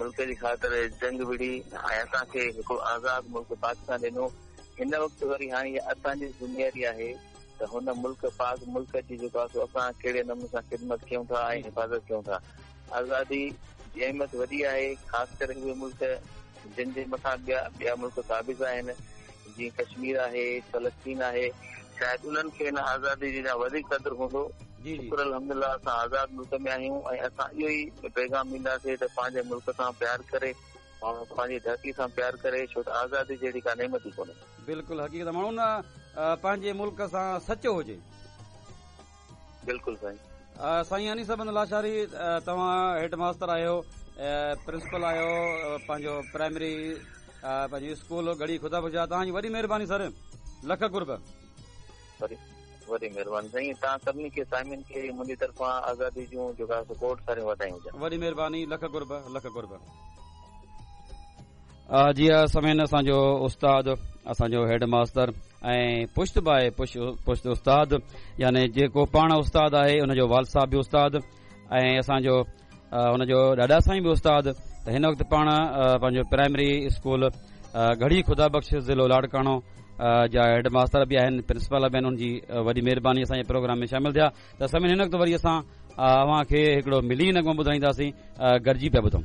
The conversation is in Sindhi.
ملڪ جي خاطر جنگ وڙهي ۽ اسان کي هڪڙو آزاد ملڪ پاڪستان ڏنو. هن وقت وري هاڻي اها اسان جي ذميواري آهي ته هن ملڪ پاڪ ملڪ جي جيڪو آهي سو اسان ڪهڙي نموني سان خدمت ڪيون ٿا ۽ حفاظت ڪيون ٿا. آزادي جي اهميت وڏي آهي، خاص ڪري اهي ملڪ جن جي مٿان ٻيا ٻيا ملڪ قابض آهن، جيئن ڪشمير آهي، فلسطين آهي، شايد انهن کي هن آزادي جي اڃا وڌيڪ قدر هوندو. شڪر الحمدلله اسان آزاد ملڪ ۾ آهيون ۽ اسان اهو ئي پيغام ڏينداسين ته پنهنجي ملڪ سان پيار ڪري، ماڻهو پنهنجي ڌرتي سان پيار ڪري، ڇو ته آزادي جهڙي ڪا نعمت ئي ڪونهي. بلڪل حقيقت ماڻهو نه پنهنجي ملڪ سان سچو هجي. بلڪل سائين. سائين انيس احمد لاشاري توهان هيڊ ماستر آهيو پرنسپل آهيو پنهنجو پرائمري پنهنجو اسڪول ڳڙهي خدا بخش جا توهان جي وڏي مهرباني سر لک قرب. وڏي وڏي مهرباني سائين توهان سڀني کي سامعين کي منهنجي طرفان آزادي جون جيڪا سو کوڙ ساريون واڌايون هجن. وڏي مهرباني لک قرب لک قرب. جي ها سامعين اسان جو استاد اسان جو هيڊ ماستر ۽ پشت باء پشت استاد يعني جيڪو پاڻ استاد آهي ان جو والد صاحب به استاد ۽ اسان جو ان جو ڏاڏا سائين به استاد ته هن وقت پاڻ پنهنجو پرائمري اسڪول ڳڙهي خدا بخش ضلعو لاڙڪاڻو جا هيڊ ماستر به آهن پرنسپال به آهن ان جي وڏي مهرباني اسان جي پروگرام ۾ شامل ٿيا ته سامعين هن وقت وري اسان اوهان کي هڪڙو ملي نغمو ٻڌائينداسين گڏجي پيا ٻڌون.